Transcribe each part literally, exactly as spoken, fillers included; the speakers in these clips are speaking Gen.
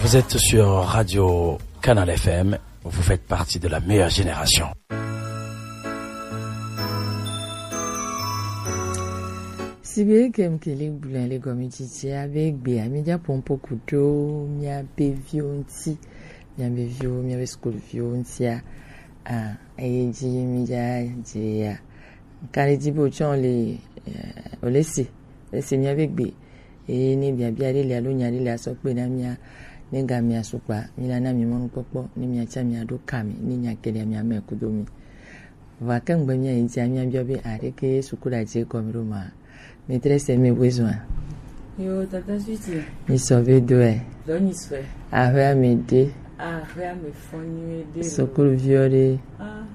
Vous êtes sur Radio Canal F M, vous faites partie de la meilleure génération. Sigbe ke mi ke le gblɔe le gɔmedzedzea be gbea mi dza ƒo nuƒo ku ɖo miabe viwo ŋuti, miabe viwo, miabe sukuviwo ŋutia, ah, eye dzi mi dza dze ya. Kaɖi dzi be wotsɔ le, eh, wole se, wole se miabe gbe. Eye ne biabia ɖe le alo nya ɖe le asɔ kpe na mia, ne ga mia sukpa, mi la na mi mɔnukpɔkpɔ, ne mia tsa mia ɖo ka mi, ne nya ke ɖe mia me kudo mi. Vɔa ke ŋgbe mia yi dzia mia biɔ be aɖe ke suku ɖe adze gɔme ɖo ma. Maîtresse, mes besoins. Yo, tata Switi. Mi sɔ be doɛ. Dɔ nyi sɔɛ. Aƒea me ɖe. Aƒea me fɔ nyuie ɖe. Sukuviwo ɖe. Ah,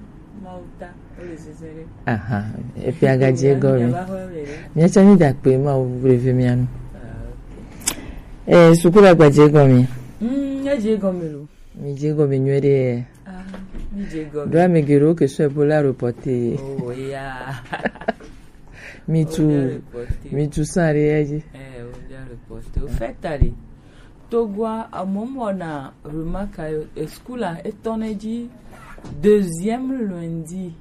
Mawu ta, wole zeze ɖe. Aha, eƒe agadze gɔme. Mia va xɔ me ɖe. Mia tsa mi da kpe ma wo reve mia nu. Ah, ok. Eh, suku la gbadze gɔme. Mm, edze gɔme lo. Mi dze gɔme nyuie ɖe. Ah, mi dze gɔme. Ɖo ame geɖewo ke sɔ Ebola reporte. Oh, ya. Mi tu, mi tu sang ɖe ya dzi. Eh, o ya reporte. O fait, allez. Togoa, à un moment, on a remarqué, eh, school a, etɔnɛ dzi deuxième lundi.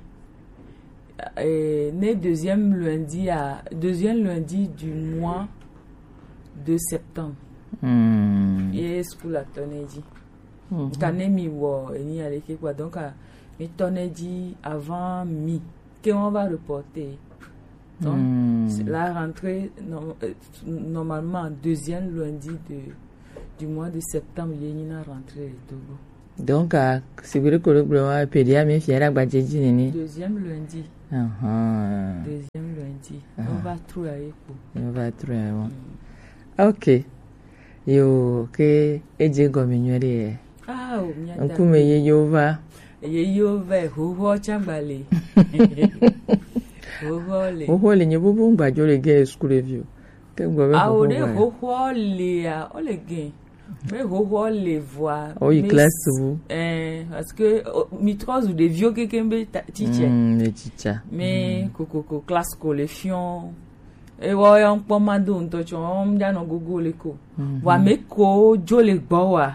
Eh, ne deuxième lundi à, deuxième lundi du mois de septembre. Hmm. Ye school a tɔnɛ dzi. Mhm. Ka ne mi wɔ eni aleke quoi. Donc, ah, mi tɔnɛ dzi avant mi. Que on va reporter. Donc, hmm, c'est la rentrée, norm-, euh, normalement, deuxième lundi de, du mois de septembre, il y a une rentrée de Togo. Donc, ah, si vous voulez que le gouvernement peut dire, mais fier à Badjedji Nini. Deuxième lundi. Uh-huh. Deuxième lundi. Uh-huh. On va trouver avec vous. On va trouver, bon. Hmm. Ok. Yo, ke edze gɔme nyuie ɖe. Ah, o, mia da. Ŋkume yeyewo va. Yeyewo va, xoxo tsa gba le. Xoxo le. Xoxo le nye bubu ŋgba dzo le ge school vi o. Ke ŋgɔ be ah, o xoxo ne va. Xoxo le ya, o le ge. Me xoxo le vɔa. O yi me classe s-, bu. Eh, parce que, o, mi trɔ zu ɖeviwo kekeŋ be ta-, teacher. Mm, le teacher. Me, mm, kokoko classe ko le fiɔ. Ewɔ ya ŋkpɔ ma do ŋutɔ tsɔ, ŋdza nɔ gogo le ko. Mhm. Vɔa me ko dzo le gbɔ wa.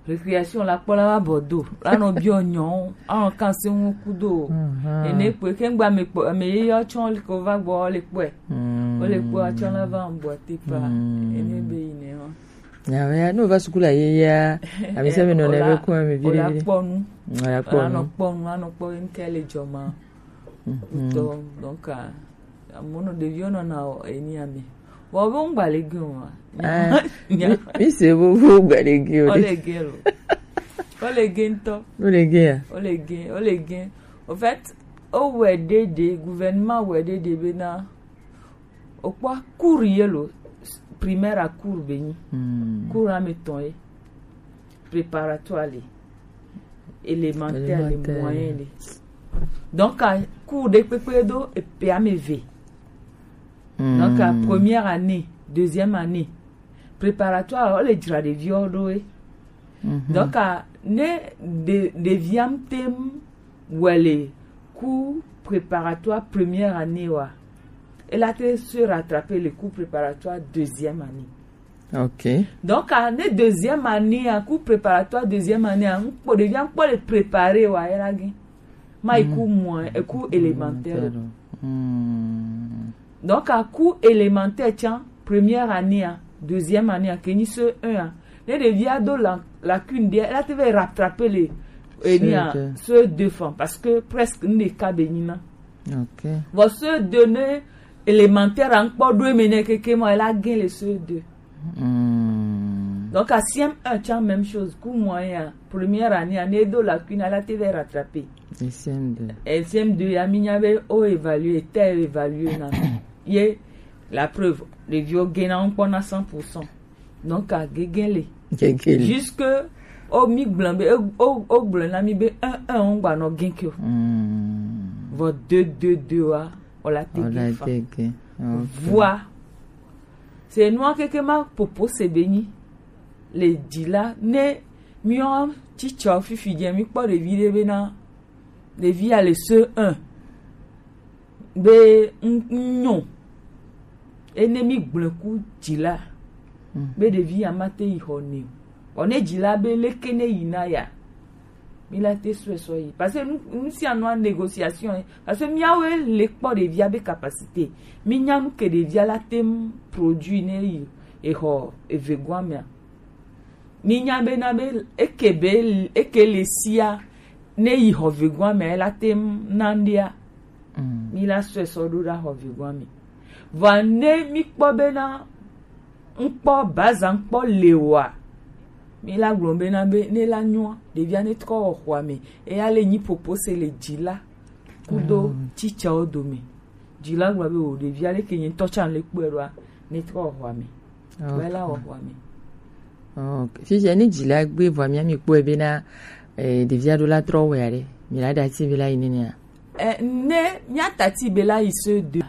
Récréation la kpɔ la va bɔ do. La nɔ biɔ nyɔ, anɔ kan se ŋu kudo. Mhm. Ene kpe ke ŋgba me kpɔ, me ye yɔ tsɔ le ko va gbɔ le kpɔe. Mm. O le kpɔ atsɔ la va ŋbɔ te pa. Mm. Ene be yi ne wa. Nya ya, no va sukula ye ya. Ami se me no ne be ko mi vi. O la kpɔ nu. O la kpɔ nu. Anɔ kpɔ nu, anɔ kpɔ ŋke le jɔ ma. Mhm. Ŋutɔ, donc, ah, Amono ɖeviwo nɔna wɔ enia me. Vɔ wo ŋgba le ge o ma. Ah, nya-, mi, mi se wo, wo ŋgba le ge o. Wo le ge lo. Wo le ge ŋutɔ. Wo le ge ya? Wo le ge, wo le ge. Au fait, o wɛ ɖe ɖe, gouvernement wɛ ɖe ɖe bena, o kpɔ cours ye lo, primaire a cours be nyi. Hmm. Cours ame tɔn ye. Préparatoire le, élémentaire le, élémentaire le, moyen le. Donc, a, cours ɖe kpekpe do epe ame eve. Hmm. Donc, a, première année, deuxième année, préparatoire, o le dzra ɖeviwo ɖo ye. Mhm. Donc, a, ne ɖe-, ɖevia ŋte ŋu wɛ le cours préparatoire première année wa, e la te se rattraper le cours préparatoire deuxième année. Ok. Donc, a, ne deuxième année, a, cours préparatoire deuxième année, a, ŋkpɔ, ɖevia ŋkpɔ le préparer wa, e la gin. Ma yi cours moyen, e cours élémentaire. Hmm. Donc, a, cours élémentaire, tiens, première année, a, deuxième année, a, ke nyi C E un, a, ne ɖevia do la, lacune ɖe, e la te va rattraper le, e ni a, C E deux. C E deux fan, parce que presque, n de ka be nyi na. Ok. Vɔ C E deux ne élémentaire a ŋkpɔ ɖo eme nɛ keke ma, e la gin le C E deux. Hmm. Donc, a C M un, tiens, même chose. Cours moyen, première année, année de lacune, a la te va rattraper. Et C M deux. Et C M deux, ya mi nya be o évaluer, te évaluer na. Ye, la preuve, ɖeviwo gin na ŋkpɔ na cent pour cent. Donc, a gege le. Gege le. Jusque o mi gblɔ be, o, o, o gblɔ na mi be un un o ŋgba nɔ gin ke o. Hmm. Vɔ deux deux deux wa, o la te gin fa. O la te gin. Ok. Vɔa, se nua keke ma popo se be nyi. Le dzi la, ne miɔ tsitsɔ fifi dze mi kpɔ ɖevi ɖe be na ɖevia le C E un be n-, n-, nyo. Ene mi gblɔe ku dzi la. Mm. Be ɖevia ma te yi xɔ nɛ o. Bon, ne dzila be leke ne yi na ya. Mi la te sɔe sɔ yi. Parce que nous, nous si en négociation, hein. Parce que miawe le kpɔ ɖevia be capacité. Mi nya nu ke ɖevia la tem produit ne yi exɔ evegɔa mea. Mi nya be na be eke be eke le sia ne yi xɔ vegɔa mea la tem na ɖia. Mm. Mi la sɔe sɔ ɖo ɖa xɔ vegɔa me. Vɔa ne mi kpɔ be na ŋkpɔ baza ŋkpɔ le wa. Mi la gblɔ be na be ne la nyɔa ɖevia ne trɔ wɔ xɔa me. Eya le nyi popo se le dzi la kudo mm. Tsitsawo dome. Dzi la gblɔ be o ɖevia le ke nye ŋutɔ tsa le kpɔe ɖoa ne trɔ wɔ xɔa me. Kpɔe la wɔ xɔa me. Ok. Fifia ne dzi la gbe vɔa mia mi kpɔe be na eh, ɖevia ɖo la trɔ wɔ ya ɖe. Mi la da ti be la yi nene ya. Eh, ne mia tati be la yi se deux.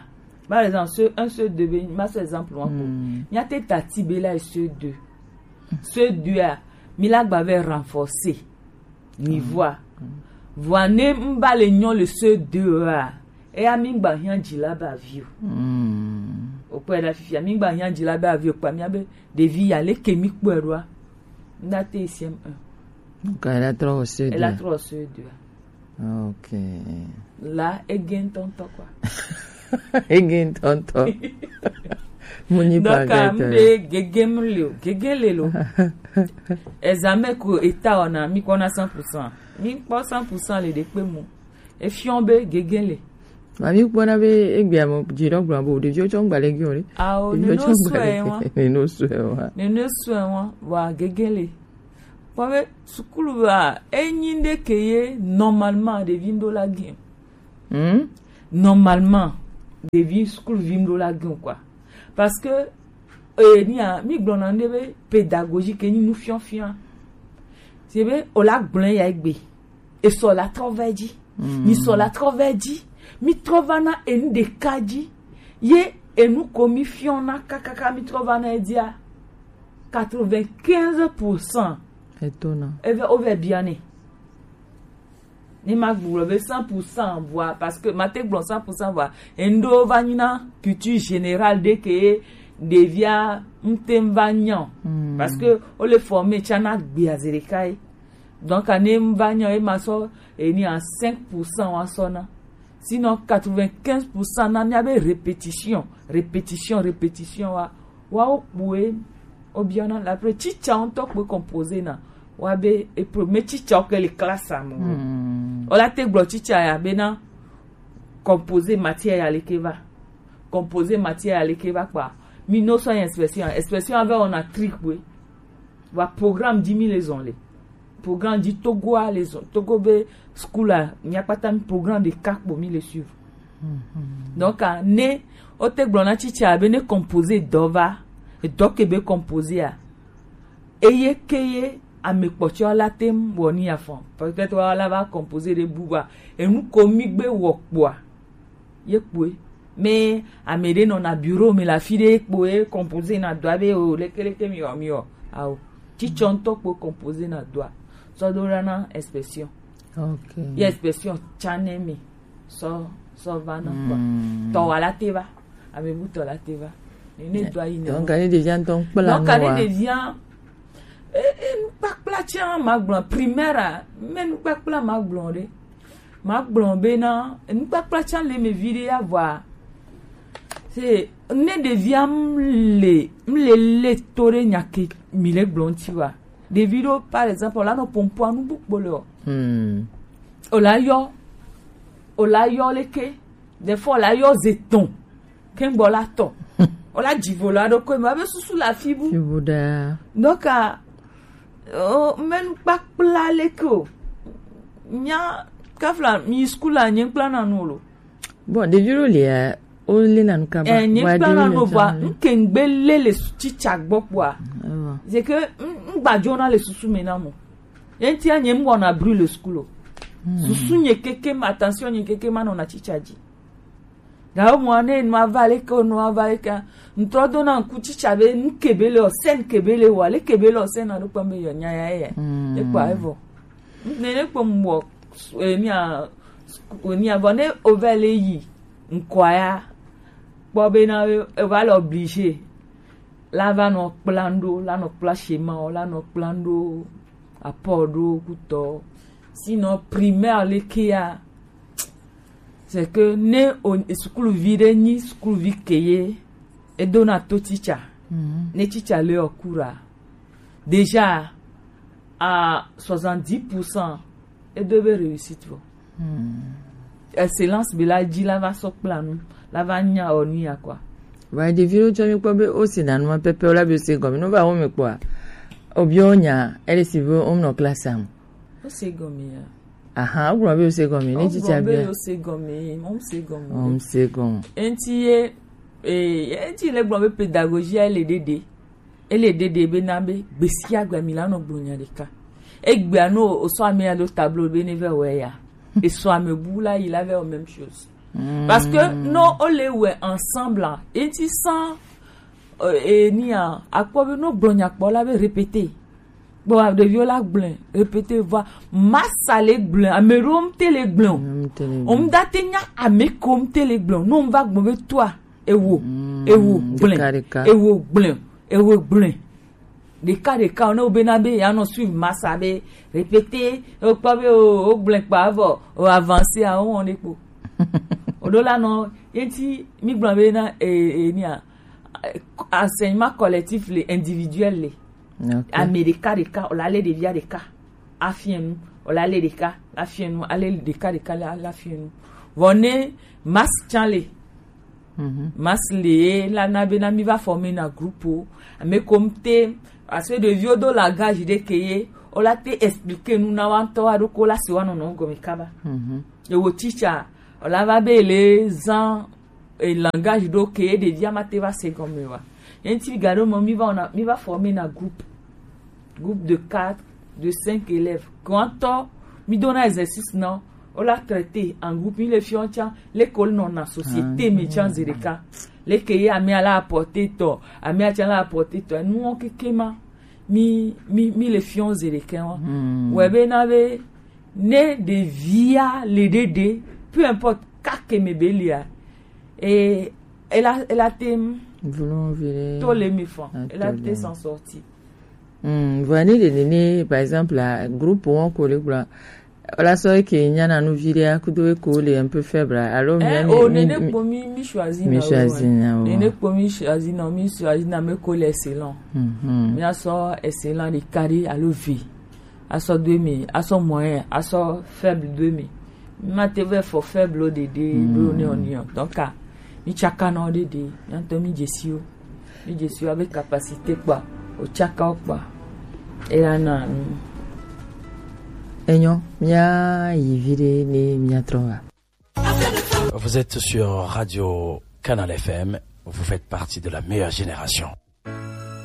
Par exemple, ce un, ce deux, be, ma ce exemple, moi, mm. Mia te tati be la, ce deux. Ce deux, ah, mi la gba ve renforcer. Niveau. Mm. Voilà, ne mba le nyon le ce deux, ah. Et à mi gba hia djila ba vieux. Mm. Au point la fifia, mi gba hia djila ba vieux, quoi, mi a be, de vie, ya le ke mi kwe roi. Nda te C M un. Donc, elle a trop ce deux. Elle a trop ce deux. Ok. La ege ŋutɔŋutɔ kwa. Ege ŋutɔŋutɔ. Mu nyi donc, pa ah, gɛtɔ. Mbe gege mu le o, gege le lo. Examen ko eta ona mi kpɔna cent pour cent. Mi kpɔ cent pour cent le ɖe kpe mu. Efiɔ be gege le. Ma mi kpɔna be egbea mo dzi ɖɔ gblɔ bo ɖeviwo tsɔ ŋgba le gi o ɖe. Awo, neno sue wa. Neno sue wa. Neno sue wa. Wa gege le. Kpɔ be sukulu wa enyi ɖe ke ye normalement ɖevi ŋɖo la gɛn. Hmm? Normalement ɖevi sukuluvi ŋɖo la gɛn quoi. Parce que eh, nia mi gblɔna ŋɖe be pédagogie ke nyi nufiɔfia. C'est be o la gblɔ ya egbe. Esɔ la trɔ va edzi. Mm. Mi sɔ la trɔ va edzi. Mi trɔ va na enu ɖeka dzi. Ye enu ko mi fiɔna kakaka mi trɔ va na edzia. Quatre-vingt-quinze pour cent. Etona. Eve ove biane. Ni ma gblɔ be cent pour cent vɔa, parce que ma te gblɔ cent pour cent vɔa. Endo va nyi na culture générale de ke devia ŋte va nyɔ. Mm. Parce que o le former tsana gbia zerekai. Donc, ane m va nyɔ, e ma sɔ, e ni a cinq pour cent wa sɔ na. Sinon, quatre-vingt-quinze pour cent na mia be répétition, répétition, répétition wa, wa o kpue, o biana, la pre chicha on tok pe composer na, wa be, e pro, me chicha o ke le classe a mo. Hmm. O la te gblɔ chicha ya be na, composer matière ya le ke va. Composer matière ya le ke va quoi. Mi no so inspection, inspection avec on a trick, oui. Wa programme dix mille les only. Programme di Togo a les on. Togo be school a, mi akpata mi programme de kak bo mi le suivre. Mhm. Donc, a, ne, o te gblɔ na chicha be ne composer dɔ va, dɔ ke be composer a. Eye ke ye, ame kpɔtɔ la tem wɔ ni afɔ. Peut-être wa la va composer de buba. Enu ko mi gbe wɔ kpɔa. Ye kpoe. Mais ame ɖe nɔna bureau me le afi ɖe kpoe composer na dɔa be o lekeleke mi wɔ mi wɔ. Ao. Titsɔ ŋutɔ kpoe composer na dɔa. Sɔ do ɖa na inspection. Ok. Ye inspection tsa ne mi. Sɔ, sɔ va na kpɔ. Hmm. Tɔ wa la te va. Ame bu tɔ la te va. Ne, ne do ayi ne. Donc, ne devient ton plan. Donc, ne devient E, e, nukpakpla tsã magblɔ primaire a, me nukpakpla magblɔ ɖe. Magblɔ be na nukpakpla tsã le me vi ɖe ya vɔa. Se ne ɖevia m le, m le le to ɖe nya ke mi le gblɔ ŋuti wa. Ɖevi ɖo, par exemple, o la nɔ pompoa nu bu kpo le o. Hmm. O la yɔ, o la yɔ leke. Des fois, o la yɔ ze tɔn. Kengbo la tɔ. O la dzivo la ɖo ko me be susu la fibu. Fibu da. Donc, ah, oh, menu kpakpla le ko. Nya kafla mi school a nye kpla na nu lo. Bon, ɖevi ɖo lia, o le na nu kaba. Eh, nye kpla na nu va, nkengbe le le chicha gbɔ kpɔa. C'est que, ngbajo na le susu me na mo. Enti a nye mbo na brûle school. Hmm. Susu nye keke ma, attention nye keke ma no na chicha ji. Gawo mwa ne nwa vale ke, nwa vale ke. Ŋtrɔ do na ŋku chicha be, nkebe le o, sen kebe le wa, le kebe le o, sen na do kpam be yo nya ya ye. Hmm. E kwa evo. Ne ne kpam wo, e, mi a, o ni a vo ne o vale yi, nkwa ya. Kpɔ be na, e, e va le obligé. La va nɔ kpla ɖo, la nɔ kpla schéma, la nɔ kpla ɖo apport ɖo kutɔ. Sinon, primaire leke ya, c'est que ne o sukuluvi ɖe nyi sukuluvi ke ye, e dona to teacher. Mhm. Ne teacher le o cours a, déjà à soixante-dix pour cent, e do be réussite vɔ. Hmm. Excellence be la dzi la va sɔ kpla nu, la va nya o nu ya quoi. Vɔ ɖeviwo tsɔ mi kpɔ be wo si na nu ma pɛpɛ wo la be wo se gɔme. No va wo me kpɔa, o bi wo nya, ele si be wo nɔ classe am. Wo se gɔme ya. Aha, wo gblɔ be wo se gɔme. Ne Wo tsitsa gblɔ be bia. Wo se gɔme, wo se gɔme. Wo se gɔme. Enti ye, eh, enti le gblɔ be pédagogie ele ɖeɖe. Ele ɖeɖe be na be gbesia gbe mi la nɔ gblɔ nya ɖeka. Egbea no o sɔ ame ya ɖo tableau be ne vɛ wɛ ya. E sɔ ame bu la yi la vɛ o même chose. Mm. Parce que non, on les ouais ensemble, hein. Et tu sens, euh, et ni a, akpɔ be no gblɔ nya kpɔ la be répéter. Bon, ɖeviwo la gblẽ, répéter, va. Masa le gblẽ, ame ɖewo ŋute le gblẽ o. Ŋute le gblẽ. O ŋda te nya ame ko ŋute le gblẽ o. No ŋva gbɔn be toa, ewo, Mm, ewo gblẽ, ɖeka, ɖeka. Ewo gblẽ, ewo gblẽ. Ɖeka, ɖeka, ne wo be na be ya nɔ suivre masa be répéter, o kpɔ be o, o gblẽ kpa vɔ, o avancer a, o wɔn ɖe kpo. O ɖo la nɔ, ye ŋti mi gblɔ be na, e, e, ni a, enseignement collectif le individuel le. Ok. Ame ɖeka ɖeka, o la le ɖevia ɖeka afiɛ nu, o la le ɖeka afiɛ nu, ale ɖeka ɖeka la, la afiɛ nu. Vɔ ne masse can le, Mhm. Masse le ye la na be na mi va former na groupe o. Ame ko ŋute, parce que ɖeviwo do langage ɖe ke ye, o la te expliquer nu na wa ŋutɔ wa ɖo ko la se wa nɔnɔ gɔme kaba. Mhm. Ewo teacher, o la va be le zan e langage ɖo ke ɖevia ma te va se gɔme wa. Ye ŋti ga ɖo mɔ mi va wɔna, mi va former na groupe. Groupe de quatre, de cinq élèves. Grand temps, mi dona exercice non, o la traiter en groupe, mi le fiɔ tsa, l'école non na société Ah, mi tsa zereka. Leke ye ame ala apporter tɔ, ame atsa la apporter tɔ. Nu wo keke ma, mi, mi, mi le fiɔ zereka wa. Hmm. Wɛ be na be, ne ɖevia le ɖeɖe, peu importe ka ke me be lia, e, ela, ela tem Vlon vile. To le mi fan, Ah, ela to te le. S'en sortir. Hmm, vɔ ni de ni, ni, par exemple, la groupe wo ko le gblɔ. Wala sɔ ke nyana nu vi ɖe akudo ko le un peu faible. Alors, Eh, mi, o mi, nene mi, kpo mi, mi choisi mi na choisi o, na o. Nene kpo mi choisi na, mi choisi na me ko le excellent. Mhm. Mi a sɔ excellent de carré alo V. Asɔ do mi, asɔ moyen, asɔ faible do mi. Mi ma te vɛ fɔ faible o dede, Mm. Blo ne o ni o. Donc, ah, mi tsaka na o dede, mi ŋutɔ mi dzesi o. Mi dzesi o abe capacité kpɔa, o tsaka o kpɔa. E la na mi. Enyo, mia yi vi ɖe ne mia trɔ va. Vous êtes sur Radio Canal F M, vous faites partie de la meilleure génération.